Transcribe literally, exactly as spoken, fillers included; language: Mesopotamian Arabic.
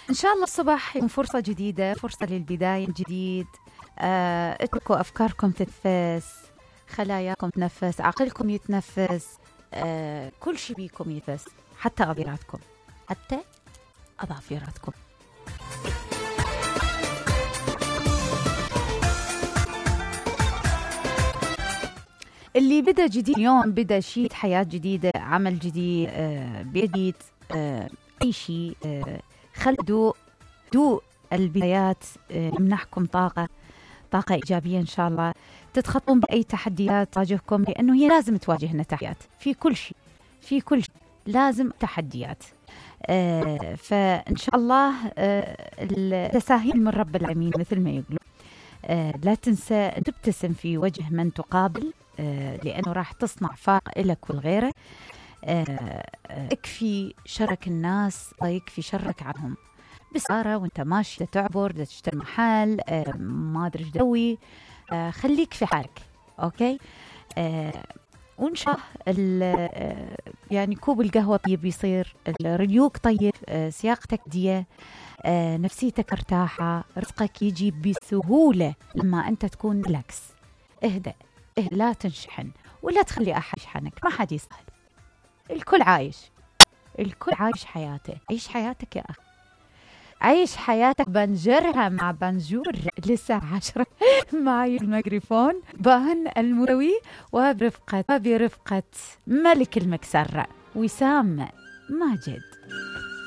إن شاء الله الصباح يكون فرصة جديدة، فرصة للبداية الجديد. آه، اتركوا أفكاركم تتنفس، خلاياكم تنفس، عقلكم يتنفس، آه، كل شيء بيكم يتنفس، حتى أظافيراتكم، حتى أظافيراتكم. اللي بدأ جديد اليوم، بدأ شيء حياة جديدة، عمل جديد، آه، بيت، آه، أي شيء، آه، خلدوا دوء البدايات، آه، يمنحكم طاقة طاقة إيجابية إن شاء الله. تتخطون بأي تحديات تواجهكم، لأنه هي لازم تواجهنا تحديات في كل شيء، في كل شيء لازم تحديات. آه، فإن شاء الله آه، التساهيل من رب العالمين مثل ما يقولون. آه، لا تنسى أن تبتسم في وجه من تقابل، آه، لأنه راح تصنع فارق لك ولغيرك. آه، اكفي شرك الناس ويكفي شرك عنهم. بسارة وانت ماشي تعبر تشتري محل، آه، ما ادري ايش تسوي، آه، خليك في حالك. اوكي. آه، وان شاء الله آه، يعني كوب القهوة طيب يصير، الريوق طيب، آه، سياقتك ديه، آه، نفسيتك ارتاحة، رزقك يجي بسهولة لما انت تكون ريلاكس. اهدأ، اهدأ، لا تنشحن ولا تخلي احد يشحنك، ما حد يسهل، الكل عايش، الكل عايش حياته. عيش حياتك يا أخي، عيش حياتك، بنجرها مع بنجور لسه عشرة. معي الميكروفون بان المروي، وبرفقة وبرفقة ملك المكسرة وسام ماجد.